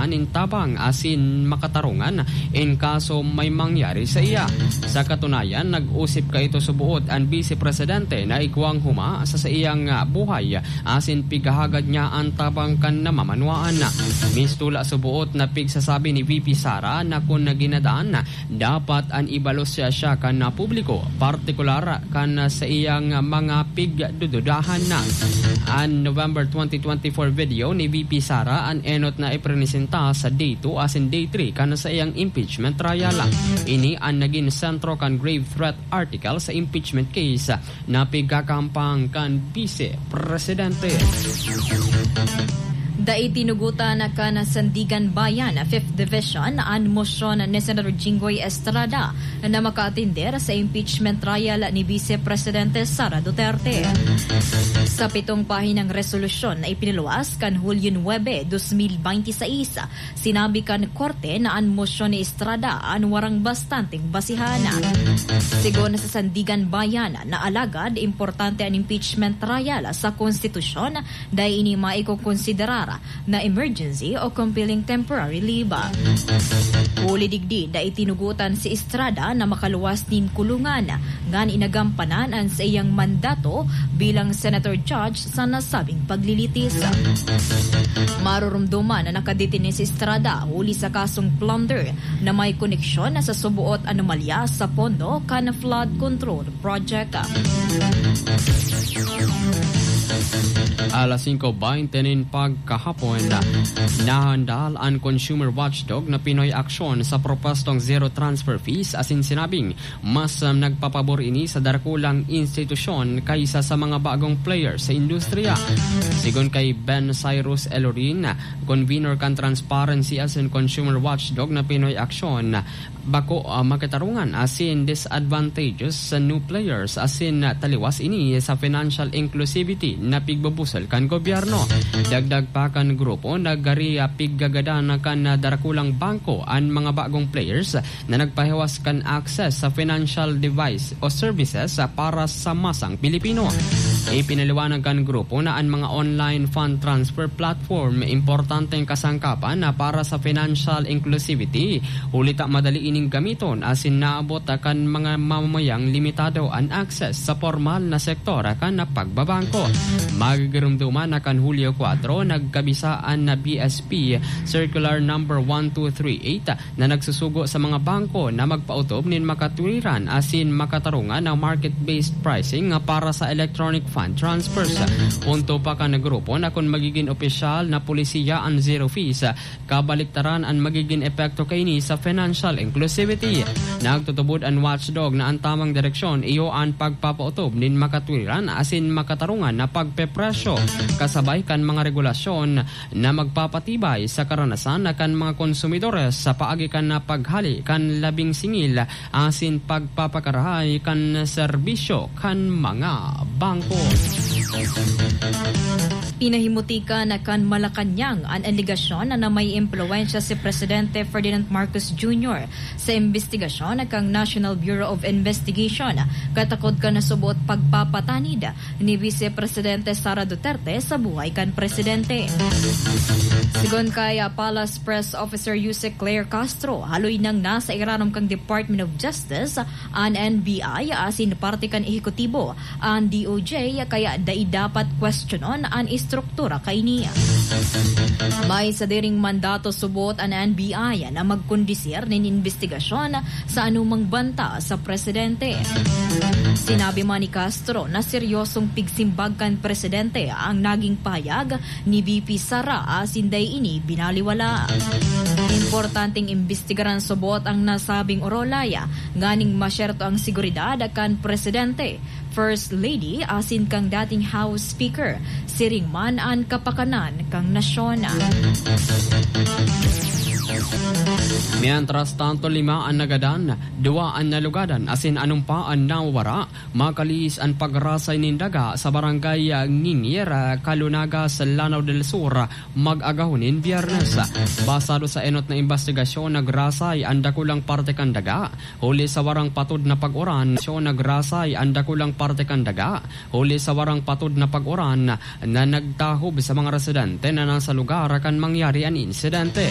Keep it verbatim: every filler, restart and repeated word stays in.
nin tabang asin makatarungan in kaso may mangyari sa iya. Sa katunayan, nag-usip kaito suboot an Bise Presidente na igwang huma sa saiyang, ah, buhay asin pighahagad niya an tabang kan namamanwaan. Mistula suboot na pigsasabi ni V P Sara na kun ginadaan, dapat an ibalos siya, siya kan publiko, partikular kan saiyang mga pigdududahan na. An November twenty twenty-four video ni V P Sara an enot na iprenesenta sa day two asin day three kan saiyang impeachment trial. Ini an nagin sentro kan grave threat article sa impeachment case na pigkakampang kan Bise Presidente. Dai tinugotan kan Sandiganbayan Fifth Division an mosyon ni Senator Jinggoy Estrada na makaatender sa impeachment trial ni Vice Presidente Sara Duterte. Sa pitong pahinang resolusyon na ipiniluwas kan Hulyo nuebe, dos mil bente seis, sinabi kan korte na an mosyon ni Estrada an warang bastanteng basihan. Sigon sa Sandiganbayan na alagad, importante an impeachment trial sa konstitusyon, dai ini maikokonsiderar na emergency o compelling temporary leave. Huli digdi, dai tinugotan si Estrada na makaluwas nin kulungan ngan inagampanan an saiyang mandato bilang senator judge sa nasabing paglilitis. Marurumduman na nakadetene si Estrada huli sa kasong plunder na may koneksyon sa suboot anomalya sa pondo kan flood control project. Alas singko bente nin pagkahapon, nahandal an Consumer Watchdog na Pinoy Aksyon sa propostong zero transfer fees asin sinabing mas, um, nagpapabor ini sa dakulang institusyon kaysa sa mga bagong player sa industriya. Sigon kay Ben Cyrus Elorin, convener kan Transparency asin Consumer Watchdog na Pinoy Aksyon, bako, ah, makatarungan asin disadvantageous sa new players asin, ah, taliwas ini sa financial inclusivity na pigbubusol kan gobyerno. Dagdag pa kan grupo, nagari, ah, piggagadan kan, ah, darakulang bangko an mga bagong players na nagpahiwas kan access sa financial device o services, ah, para sa masang Pilipino. Ipinaliwanag kan grupo na an mga online fund transfer platform importanteng kasangkapan na para sa financial inclusivity, huli ta madali ining gamiton asin naabot kan mga mamamayang limitado an access sa pormal na sektor kan pagbabangko. Magigirumduman na kan Hulyo kwatro, nagkabisa an B S P Circular Number one two three eight na nagsusugo sa mga bangko na magpaotob nin makatwiran asin makatarungan na market-based pricing nga para sa electronic fund transfers. Punto pa kan grupo na kun magigin opisyal na polisiya an zero fees, kabaliktaran an magigin epekto kaini sa financial inclusivity. Nagtutubod an watchdog na an tamang direksyon iyo an pagpapaotob nin makatwiran asin makatarungan na pagpepresyo, kasabay kan mga regulasyon na magpapatibay sa karanasan kan mga konsumidores sa paagi kan paghali kan labing singil asin pagpapakarahay kan serbisyo kan mga bangko. Pinahimutikan kan Malacañang an alegasyon na may impluwensya si Presidente Ferdinand Marcos Junior sa imbestigasyon kan National Bureau of Investigation, katakod kan subot pagpapatanid ni Vice Presidente Sara Duterte sa buhay kan presidente. Sigon kay, ah, Palace Press Officer Yusek Claire Castro, haloy nang nasa irarom kan Department of Justice an N B I asin parte kan ehekutibo an D O J, kaya dai dapat kwestiyonon an estruktura kaini. May sadiring mandato subot an N B I na magkondisir nin imbestigasyon sa anumang banta sa presidente. Sinabi man ni Castro na seryosong pigsimbag kan presidente ang naging pahayag ni V P Sara asin dai ini binaliwala. Importanteng imbestigaran subot ang nasabing orolay nganing masyerto ang seguridad kan presidente, First Lady asin kang dating House Speaker, siring man an kapakanan kan nasyon. Mientras tanto, lima an nagadan, duwa an nalugadan asin anom pa an nawawara, makalihis an pagrasay nin daga sa barangay, ah, Ngingir, ah, Calunagas, Lanao del Sur, mag-agahon nin Biyernes. Basado sa enot na imbestigasyon, nagrasay an dakulang parte kan daga, huli sa warang patod na pag-uran. Nagrasay an dakulang parte kan daga, huli sa warang patod na pag-uran na nagtahob sa mga residente na nasa lugar kan mangyari an insidente.